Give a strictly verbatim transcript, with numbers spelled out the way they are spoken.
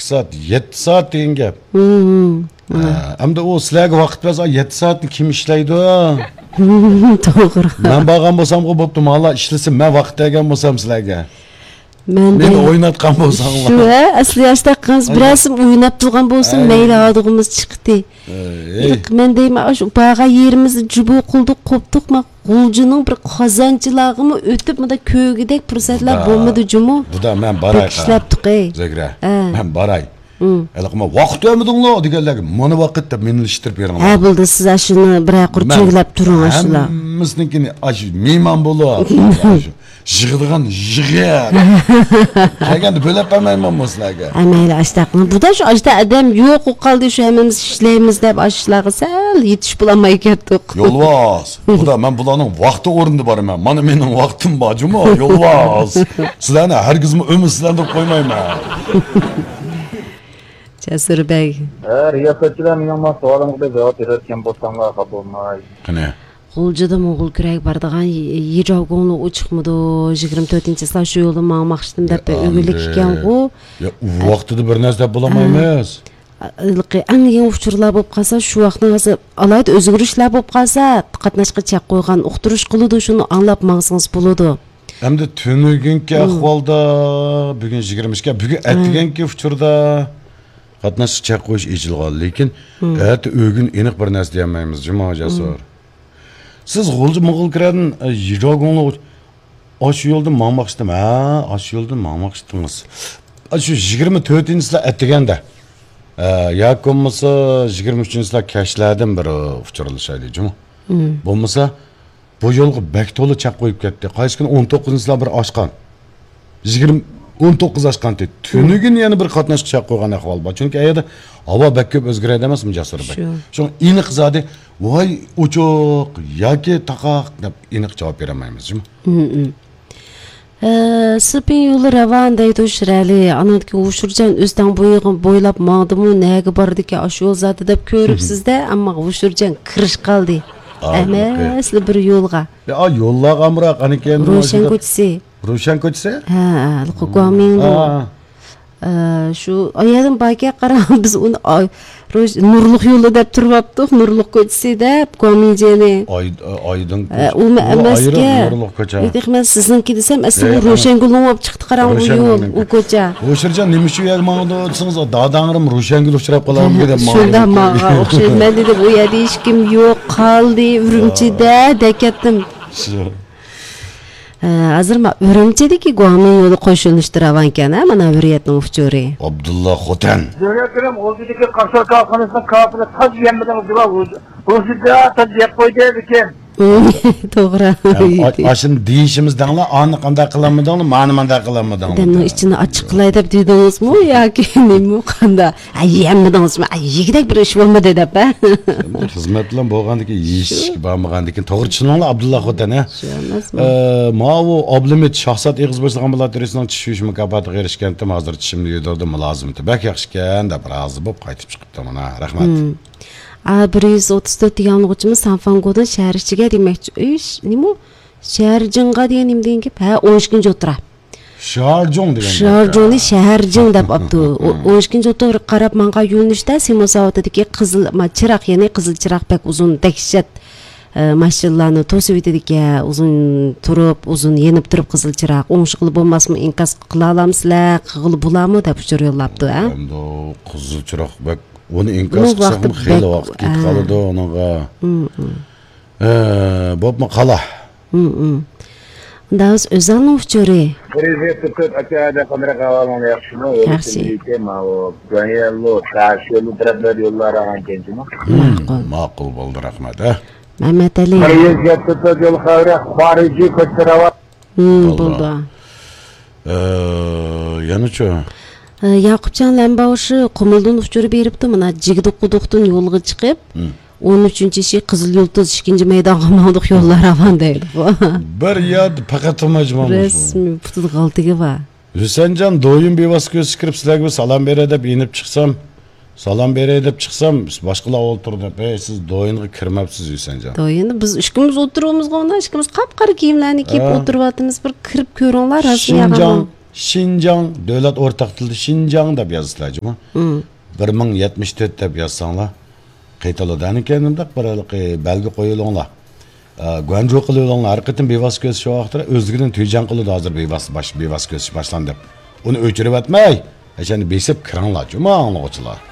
ئىككى سائەت، يەتتە سائەت دېگەن گەپ. ھە، ئەمدى ئۇ سىلەرگە ۋاقىت بەرسە، يەتتە سائەتنى كىم ئىشلەيدۇ؟ توغرا. مەن بارغان بولسامغۇ بوپتۇ، مالا ئىشلىسە، مەن ۋاقىت بەرگەن بولسام سىلەرگە. مەن مېنى دەي-، ئويناتقان بولساڭلار. شۇ، ھە، ئەسلى ياشتاققىنىز بىرەرسىم ئويناپ تۇرغان بولسۇن، مەيلى، ھادىغىمىز چىقتى. ياق، مەن دەيمەن، ئاشۇ بارغان يېرىمىزدە جۇبۇ قىلدۇق، قوپتۇق، ما غۇلجىنىڭ بىر قازانچىلارغىمۇ ئۆتۈپ، مۇنداق كۆرگۈدەك پۇرسەتلەر بولمىدى جۇمۇ. بۇدا، مەن باراي. بەك ئىشلەپتۇق، ئەي. زۆھرە، مەن باراي. ھېلىقى ۋاقىت بەرمىدىڭلار دېگەنلەرگە مانا ۋاقىت دەپ مېنى ئىشلىتىپ بېرىڭلار. ھە، بولدى، سىز ئاشۇنى بىرەر قۇر چۆگىلەپ تۇرۇڭ، ئاشۇلار. ھەممىسىنىڭكىنى ئاشۇ مېھمان بولۇپ، ئاشۇ يىغىدىغان يىغىپ. كەلگەندە بۆلەپ بەرمەيمەنمۇ سىلەرگە؟ ھە، مەيلى، ئاشتاق. بۇدا شۇ ئاشتا ئادەم يوق بولۇپ قالدى، شۇ ھەممىمىز ئىشلەيمىز دەپ ئاشۇلارغا سەل يېتىشىپ بولالماي كەتتۇق. يولۋاس، بۇدا مەن بۇلارنىڭ ۋاقتى ئورنىدا بارىمەن. مانا مېنىڭ ۋاقتىم بار جۇمۇ، يولۋاس. سىلەرنى ھەرگىزمۇ ئۈمىدسىزلەندۈرۈپ قويمايمەن. جەسۇر بەگ. ھە، رىياسەتچىلەر، مېنىڭ مانا سوئالىمغا بىر جاۋاب بېرىۋەتكەن بولساڭلار خاپا بولماي. قېنى؟ غۇلجىدا موڭغۇل كۈرەگە بارىدىغان يىجاۋگۇڭلۇ ئۇ چىقمىدۇ؟ يىگىرمە تۆتىنچى چىسلا شۇ يولدا ماڭماقچىدىم دەپ ئۆگۈنۈك ئىكەنغۇ. يا، ئۇ ۋاقتىدا بىر نەرسە دەپ بولالمايمىز. ھېلىقى ئەڭ يېڭى ئۇچۇرلار بولۇپ قالسا، شۇ ۋاقىتنىڭ ھازىر ئالاھىدە ئۆزگىرىشلەر بولۇپ قالسا، قاتناشقا چەك قويغان ئۇقتۇرۇش قىلىدۇ، شۇنى ئاڭلاپ ماڭسىڭىز بولىدۇ. ئەمدى تۈنۈگۈنكى ئەھۋالدا، بۈگۈن يىگىرمە ئىككى، بۈگۈن ئەتىگەنكى ئۇچۇردا قاتناشقا چەك قويۇش ئېچىلغان، لېكىن ئەتە ئۆگۈن ئېنىق بىر نەرسە دېيەلمەيمىز جۇمۇ جەسۇر. سىز غۇلجا موڭغۇل كىرەدىن، ئە، يىجاۋگۇڭلۇ ئاشۇ يولدىن ماڭماقچىدىم. ھە، ئاشۇ يولدىن ماڭماقچىدىڭىز. ئاشۇ يىگىرمە تۆتىنچىسىلەر ئەتىگەندە، ئە، ياكى بولمىسا يىگىرمە ئۈچىنچىسىلەر كەچلەردىن بىر ئۇچۇرلىشايلى جۇمۇ. بولمىسا بۇ يولغا بەك تولا چەك قويۇپ كەتتى. قايسى كۈنى ئون توققۇزىنچىسىلەر بىر ئاشقان. يىگىرمە، ئون توققۇز ئاشقانتى. تۈنۈگۈن يەنە بىر قاتناشقا چەك قويغان ئەھۋال بار. چۈنكى ئەيەردە ھاۋا بەك كۆپ ئۆزگىرەدۇ ئەمەسمۇ، جاسۇر بەگ؟ شۇ. شۇڭا ئېنىق زادى، ۋاي ئوچۇق ياكى تاقاق دەپ ئېنىق جاۋاب بېرەلمەيمىز جۇمۇ. ئە، سىپىن يولى راۋان دەيدۇ شىرئەلى. ئانىڭدىكى ھوشۇرجان ئۆستەڭ بويىغا بويلاپ ماڭدىمۇ، نەگە بارىدىكەن ئاشۇ يول زادى دەپ كۆرۈپسىز-دە، ئەمما ھوشۇرجان كىرىش قالدى. ھەممىسىلا بىر يولغا. يا، يوللارغا ئامراق، ئانىكەن روشەن كوچىسى. روشەن كوچىسى؟ ھە، ھە، گۇامىڭدۇ. شۇ، ئايالىم باركەن، قاراڭ، بىز ئۇنى، ئاي، روش-، نۇرلۇق يولى دەپ تۇرۇۋاپتۇق، نۇرلۇق كوچىسى دەپ، گۇامىڭجيېنى. ئاي-، ئايدىڭ ئۇمۇ ئەمەسكەن. نۇرلۇق كوچا. يېتىق، مەن سىزنىڭكى دېسەم، ئەسلى ئۇ روشەنگۈلنىڭ بولۇپ چىقتى، قاراڭ، ئۇ يول، ئۇ كوچا. ھوشۇرجان، نېمە ئۈچۈن يەر ماڭىدۇ دېسىڭىز، داداڭرىم روشەنگۈل ئۇچراپ قالامدۇ دەپ شۇنداق ماڭغان ئوخشايدۇ. مەن دېدىم، ئۇ يەردە ھېچكىم يوق، قالدى، ئۈرۈمچىدە، دەپ كەتتىم. شۇ. ھە، ھازىر ما-، ئۈرۈمچىدىكى گۇامىڭ يولى قوشۇلۇشتا راۋانكەن، ھە، مانا ھۆررىيەتنىڭ ئۇچۇرى. ئابدۇللا خوتەن. دۆلەت بىلەن غۇلجىدىكى قاشۇ كارخانىسىنىڭ كاپىلى تاج يەممىدىڭىز دېگەن غۇلجىدا تاج يەپ قويدى لېكىن. توغرا. ھەم ئا-، ئاشۇنى دېيىشىمىز دەڭلا، ئانى قانداق قىلالمىدىڭلار، مانى مانداق قىلالمىدىڭلار. ئادەمنىڭ ئىچىنى ئاچچىق قىلاي دەپ دېدىڭىزمۇ ياكى نېمە قانداق؟ ھە، يەممىدىڭىزمۇ؟ ھە، يېگۈدەك بىر ئىش بولمىدى دەپ، ھە؟ خىزمەت بىلەن بولغاندىكىن، يېيىشكە بارمىغاندىكىن، توغرا چۈشىنىڭلار، ئابدۇللا خوتەن، ھە؟ شۇ ئەمەسمۇ؟ ئە، ماۋۇ ئابلىمىت شاھزات ئېغىز بوشىغان بىلەن تۈرىسىنىڭ چىش يۇيۇش مۇكاپاتىغا ئېرىشكەنتىم، ھازىر چىشىمنى يۇيدۇردۇم، مۇلازىمىتى بەك ياخشىكەن دەپ رازى بولۇپ قايتىپ چىقىپتۇ، مانا، رەھمەت. ئا، بىر يۈز ئوتتۇز تۆت ياڭلىغۇچىمىز سانفاڭگودىن شەھەر ئىچىگە دېمەكچى. ئۈي، نېمە؟ شەھەرجىڭغا دېگەن نېمە دېگەن گەپ؟ ھە، ئون ئىككىنچى ئوتتۇرا. شارجۇڭ دېگەن گەپ. شارجۇڭنى شەھەرجىڭ دەپ ئاپتۇ. ئۇ، ئون ئىككىنچى ئوتتۇرىغا قاراپ ماڭغان يۆنىلىشتە سېمو زاۋۇتىدىكى قىزىل، ما، چىراغ، يەنى قىزىل چىراغ بەك ئۇزۇن، دەھشەت، ئە، ماشىنىلارنى توسۇۋېتىدىكەن. ئۇزۇن تۇرۇپ، ئۇزۇن يېنىپ تۇرۇپ قىزىل چىراغ. ئوڭشىغىلى بولماسمۇ، ئىنكاس قىلالامسىلەر، قىلغىلى بولامۇ دەپ ئۇچۇر يوللاپتۇ، ھە؟ ئەمدى قىزىل چىراغ بەك، ئۇنى ئىنكاس قىلساقمۇ خېلى ۋاقىت كېتىپ قالىدۇ ئۇنىڭغا. ھە، بوپمۇ قالا. ئۇنداق ئۆزەلنىڭ ئۇچۇرى. كىرىزىس تۇتۇپ ئاكا، قانداق ئەھۋالىڭلار، ياخشىمۇ؟ ياخشى. يوللار ئاغان كەنچىمۇ؟ ماقۇل. ماقۇل بولدى، رەھمەت، ھە. مەمەتئەلى. كىرىزىس تۇتۇپ يول خەۋىرى، خارىجىي كوچا راۋا. بولدى. ئە، يەنىچۇ؟ ئە، ياقۇپجان لەمباۋشى قۇمۇلدىن ئۇچۇر بېرىپتۇ، مانا، جىگدە قۇدۇقتىن يولغا چىقىپ، ئون ئۈچىنچى شى قىزىل يۇلتۇز ئىككىنچى مەيدانغا ماڭدۇق، يوللار راۋان دەيدىغۇ. بىر يەردە پەقەت تۇرماي جۇمۇ. رەسمىي پۇتىدا غالتىكى بار. ھۈسەنجان دويۇن بىۋاسىتە كۆزىتىپ كىرىپ، سىلەرگە بىر سالام بېرەي دەپ يېنىپ چىقسام، سالام بېرەي دەپ چىقسام، باشقىلار ئولتۇرۇپ، ھەي، سىز دويۇنغا كىرمەپسىز، ھۈسەنجان. دويۇندا بىز ئىككىمىز ئولتۇرۇۋاتىمىزغۇ، مانا ئىككىمىز قاپقارا كىيىملەرنى كىيىپ ئولتۇرۇۋاتىمىز. بىر كىرىپ كۆرۈڭلار، رەسمىي شىنجاڭ. شىنجاڭ، دۆلەت ئورتاق تىلىدا شىنجاڭ دەپ يازىسىلەر جۇمۇ. بىر مىڭ يەتمىش تۆت دەپ يازساڭلار قېتىلىدۇ. ئەنە كەينىمدەك بىر ھېلىقى بەلگە قويۇلۇڭلار. ئە، گۇەنجۇ قىلىۋېلىڭلار. ھەر قېتىم بىۋاسىتە كۆرسىتىش ۋاقتىدا ئۆزلۈكىدىن تۈيجاڭ قىلىدۇ، ھازىر بىۋاسىتە باش-، بىۋاسىتە كۆرسىتىش باشلاندى دەپ. ئۇنى ئۆچۈرۈۋەتمەي، ئەشەنى بېسىپ كىرىڭلار جۇمۇ ئاڭلىغۇچىلار.